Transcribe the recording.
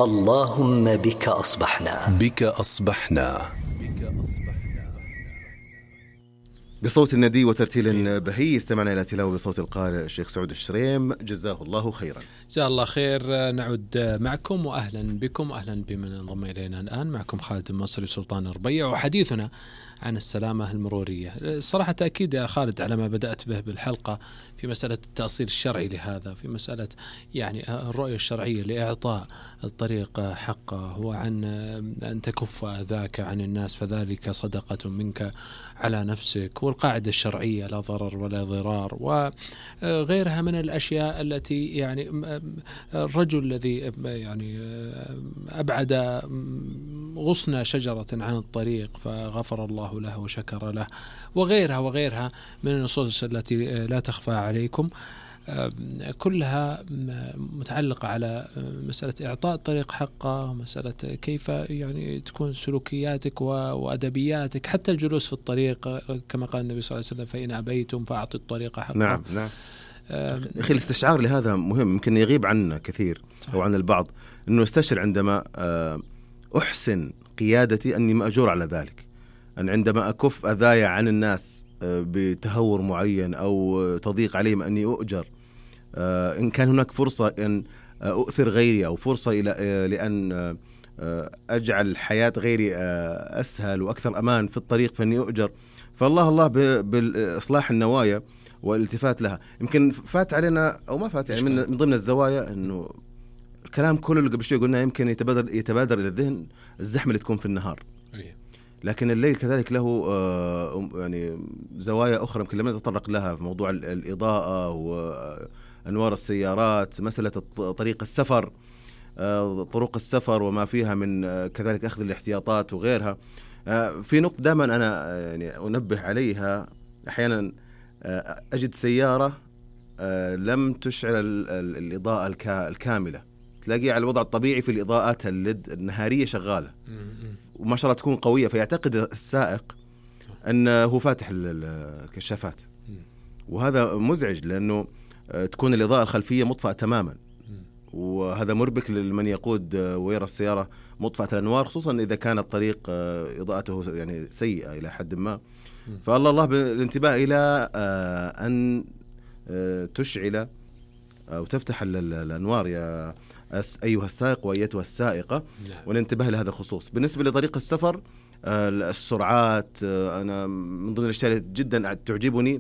اللهم بك أصبحنا. بصوت الندي وترتيل بهي استمعنا إلى تلاوة بصوت القارئ الشيخ سعود الشريم، جزاه الله خيرا. جزاه الله خير. نعود معكم وأهلا بكم، أهلا بمن انضم إلينا الآن. معكم خالد المصري سلطان الربيع، وحديثنا عن السلامة المرورية. صراحة تأكيد يا خالد على ما بدأت به بالحلقة في مسألة التأصيل الشرعي لهذا، في مسألة يعني الرؤية الشرعية لإعطاء الطريق حقه، وعن أن تكف أذاك عن الناس فذلك صدقة منك على نفسك، والقاعدة الشرعية لا ضرر ولا ضرار، وغيرها من الأشياء التي يعني الرجل الذي يعني أبعد غصن شجرة عن الطريق فغفر الله له وشكر له، وغيرها من النصوص التي لا تخفى عليكم، كلها متعلقة على مسألة إعطاء الطريق حقه، مسألة كيف يعني تكون سلوكياتك وأدبياتك، حتى الجلوس في الطريق كما قال النبي صلى الله عليه وسلم: فإن أبيتم فأعطوا الطريق حقه. نعم. أخي الاستشعار لهذا مهم، يمكن يغيب عنا كثير أو عن البعض، أنه استشعر عندما أحسن قيادتي أني مأجور على ذلك، أن عندما أكف أذايا عن الناس بتهور معين أو تضيق عليهم أني أؤجر، إن كان هناك فرصة أن أؤثر غيري أو فرصة لأن أجعل حياة غيري أسهل وأكثر أمان في الطريق فأني أؤجر. فالله بالإصلاح النوايا والالتفات لها. يمكن فات علينا أو ما فات، يعني من ضمن الزوايا أنه الكلام كله اللي قبل شوي قلنا يمكن يتبادر إلى الذهن الزحمة اللي تكون في النهار، لكن الليل كذلك له يعني زوايا أخرى يمكن لم نتطرق لها في موضوع الإضاءة وأنوار السيارات، مسألة طريق السفر، طرق السفر وما فيها من كذلك أخذ الاحتياطات وغيرها. في نقطة دائما أنا يعني أنبه عليها، أحيانا أجد سيارة لم تشعل الإضاءة الكاملة، تلاقي على الوضع الطبيعي في الإضاءات الليد النهارية شغالة وما شاء الله تكون قوية، فيعتقد السائق أنه فاتح الكشافات، وهذا مزعج لأنه تكون الإضاءة الخلفية مطفأة تماما، وهذا مربك لمن يقود ويرى السيارة مطفأة الأنوار، خصوصا إذا كان الطريق إضاءته يعني سيئة إلى حد ما. فالله بالانتباه إلى أن تشعل أو تفتح الأنوار يا أيها السائق وأيتها السائقة، والانتباه لهذا الخصوص. بالنسبة لطريق السفر، السرعات، أنا من ضمن الأشياء جدا تعجبني